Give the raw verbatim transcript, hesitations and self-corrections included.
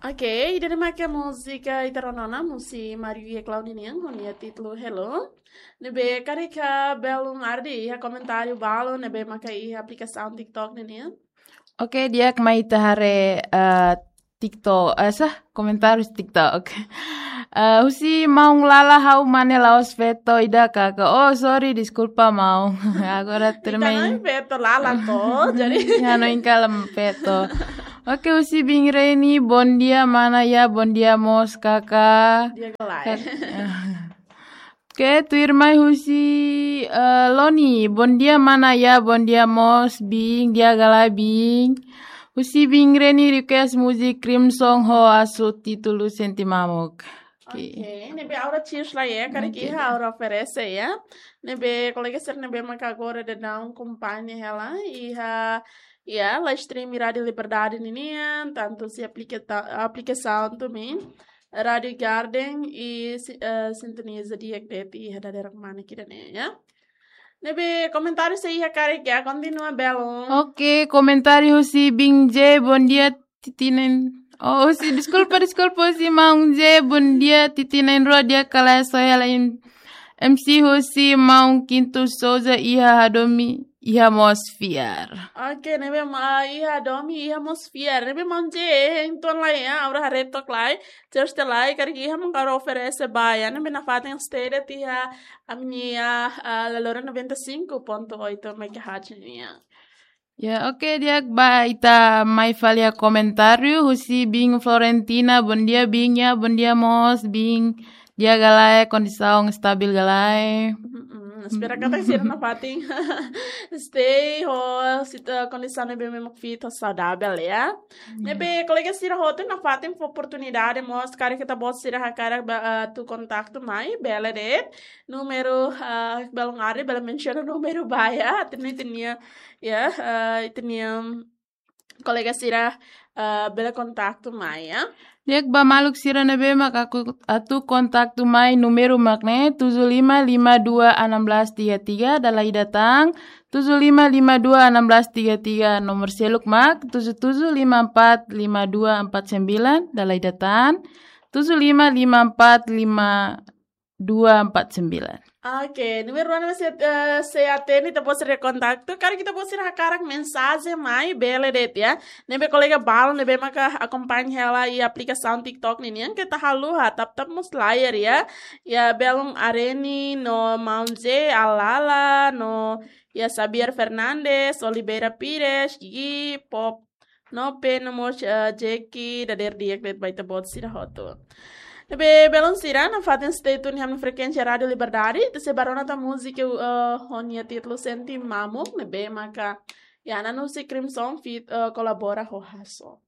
Oke, ida-ne'e maka múzika ita rona ona, múzika Mario Yeklau ninian, ho nia títulu Hello. Ne'ebé karik iha belun arde iha komentáriu balun, ne'ebé maka iha aplikasaun TikTok ninian. Oke, di'ak, mai ita haree, eh, TikTok, eh, sá, komentáriu TikTok. Eh, husi maun Lala, ha'u mane la'ós feto ida kaka. Oh, sorry, deskulpa maun. Agora ita termain. Na'in feto Lala to, jadi. Ya, no inkala feto. Oke, husi Bing Reni, bom dia mana ya, bom dia mós kaka. Di'ak ka lae? Kak-, oke, tuirmai husi, eh, Loni, bom dia mana ya, bom dia mós Bing, di'ak ka lae Bing. Husi Bing Reni request múzika Crimson ho Asu títulu Sente Mamuk. Oke. Oke, ne'ebé aura cheers la ya, karik iha aura oferese ya. Ne'ebé kolega sira ne'ebé maka agora daudaun akompaña hela iha, ya, live stream Rádiu Liberdade ninian, tantu husi aplika-, aplikasaun também Rádiu Garden i si-, eh, sintoniza di'ak de'it iha dadeer-rua mana kida-ne'e ya. Ne'ebé komentáriu sei iha karik ya, kontinua belun. Oke, komentáriu husi Bing J, bom dia tiha na'in. Oh, husi, deskulpa, deskulpa, husi maun J, bom dia tiha na'in-rua, di'ak ka lae, só hela M-, M C husi maun Quinto Souza, iha hadomi, iha mós fiar. Oke, ne'ebé ma-, iha hadomi, iha mós fiar. Ne'ebé maun J, entaun la ya, aura haree tok lai, cheers te lai, karik iha maka aura oferese ba ya, ne'ebé nafatin stay de'it iha ami-nia, ah, Laloran noventa e cinco ponto oito megahertz nian. Ya, oke, di'ak ba ita mai fali iha komentáriu, husi Bing Florentina, bom dia Bing ya, bom dia mós Bing, di'ak ka lae, kondisaun stabil ka lae. Mm-mm, espera katak sira nafatin stay ho sita-, kondisaun ne'ebé mak fit ho saudavel ya. Ya. Ne'ebé kolega sira hotu nafatin fó oportunidade mós, karik ita-boot sira hakarak ba, eh, atu kontaktu mai, bele de'it. Númeru, ah, belun arde, bele mensiona númeru ba ya, ita-nia, ita-nia, ya, ah, ita-nia, mm, kolega sira, ah, bele kontaktu mai ya. Di'ak ba maluk sira ne'ebé mak hakarak atu kontaktu mai, númeru mak ne'e tujuh lima lima dua enam belas tiga tiga, dala ida tan, tujuh lima lima dua enam belas tiga tiga, nomor seluk mak tujuh tujuh lima empat lima dua empat sembilan, dala ida tan, tujuh lima lima empat lima dua empat sembilan. Oke, númeru rua ne'e sei, eh, sei hatene ita-boot sira kontaktu. Karik ita-boot sira hakarak mensajen mai, bele de'it ya. Ne'ebé kolega balun ne'ebé maka akompaña hela iha aplikasaun TikTok ninian, keta haluha tap-tap mós layar ya. Ya, belun Areni, no maun J, Alala, no ya Xavier Fernandes, Oliveira Pires, Gigi, Pop, no P, no mós, eh, Jeki, dadeer di'ak de'it ba ita-boot sira hotu. Ne'ebé belun sira, nafatin stay tune iha ami-nia frekuénsia Rádiu Liberdade, ita sei bá rona tan múzika, eh, ho nia títulu Sente Mamuk, ne'ebé maka, ya, nanun husi Crimson feat, eh, kolabora ho Hasso.